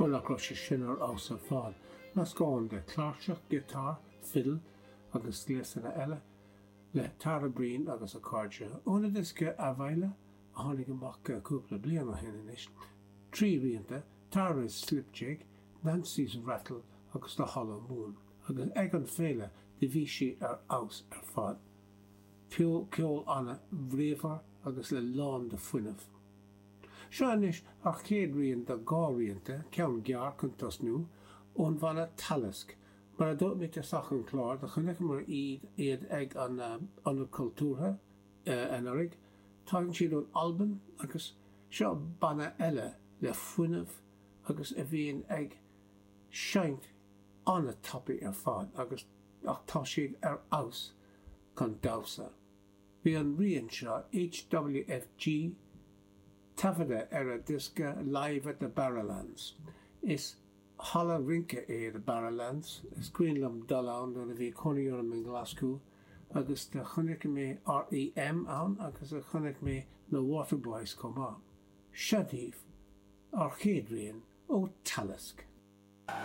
Bhuel, nach raibh sé sin ar fheabhas ar fad? Meascán de chláirseach, giotár, fidil agus gléasanna eile le Tara Breen agus a cairde. Óna diosca Abhaile, a tháinig amach cúpla bliain ó shin anois. 3 rianta, Tara's Slip Jig, Nancy's Rattle agus The Hollow Moon. Agus ag an féile do bhí sí ar fheabhas ar fad. Ceol an-bhríomhar agus le lán de fuinneamh. Seo anois ár chéad rian de 2 rianta, ceann gearr chun tosnú, ón bhanna Talisk. Mar a dúirt mé i dtosach an chláir, do chonaiceamar iad ag an Ionad Cultúrtha anuraidh. Tagann siad ón Albain agus seo banna eile le fuinneamh agus a bhíonn ag seinnt an-tapaidh ar fad agus ach tá siad ar fheabhas chun damhsa. Bhí an rian seo, HWFG, taifeadta ar a diosca Live at the Barrowlands. Is halla rince é The Barrowlands, is cuimhin liom dul ann nuair a bhí cónaí orm i nGlaschú agus do chonaic mé REM ann agus do chonaic mé na Waterboys chomh maith. Seo daoibh ár chéad rian ó Talisk.